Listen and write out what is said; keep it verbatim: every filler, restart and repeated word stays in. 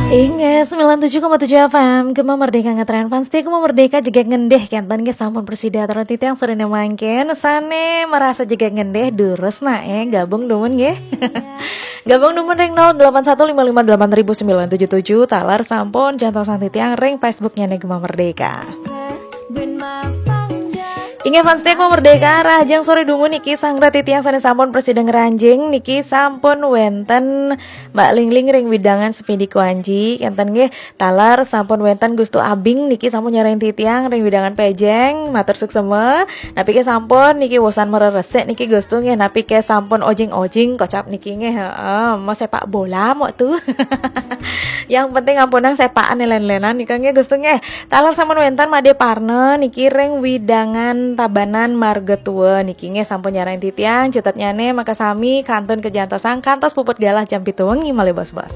Inggih, sembilan tujuh koma tujuh F M, Gema Merdeka ngetren fans setia Gema Merdeka jegeg ngendih, kenten nggih sampun prasida atur titiang sorene mangkin, sane merasa jegeg ngendih, durus nae gabung dumun nggih. Gabung dumun ring nol delapan satu lima lima delapan ribu sembilan tujuh tujuh, taler sampun jantosan titiang ring Facebooknya nih Gema Merdeka. Inggih fans setia Gema Merdeka, rahajeng sore dumun niki sang rati tiang sane sampun prasida ngranjing niki sampun wenten Mbak Lingling ring widangan Sepidi Kuanji, kenten nggih, taler sampun wenten Gustu Abing niki sampun nyarengin titiang ring widangan Pejeng, matur suksema. Napike sampun niki wosan mereresik niki Gustu nggih, napike sampun ojing-ojing kocap niki nggih, heeh, mau sepak bola mau tuh. Yang penting ampunang sepakan len-lenan nika nggih Gustu nggih. Taler sampun wenten Made Parna niki ring widangan Tabanan Marga Tua niki nggih sampun nyarengin titiang, cutetnyane makasami kantun kajantosang kantos puput galah jam pitu wengi malih bos-bos.